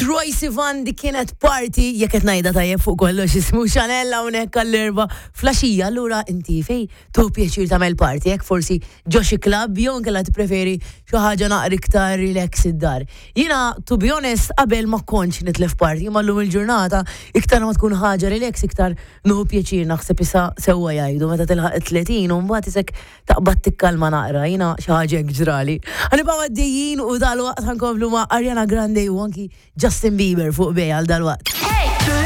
Troye Sivan, dik kienet "Party", jekk qed ngħidha tajjeb fuq kollox ismu Chanel hawnhekk għall-Erbgħa filgħaxija. Allura inti fej tieħu pjaċir tagħmel party, jekk forsi ġo xi club jew inkella tippreferi xi ħaġa naqra iktar relax id-dar? Jiena, to be honest, qabel ma kontx nitlef party, ma llum il-ġurnata iktar ma tkun ħaġa relax iktar nieħu pjaċir. Naħseb issa sewwa jgħidu meta tilħaq 30 u mbagħad isek taqbad tikkalma naqra, jiena xi ħaġa hekk ġrali. Ħa nibqgħu għaddejjin u dalwaqt ħa nkomplu ma' Ariana Grande u anki Justin Bieber fuq bej għal dalwaqt.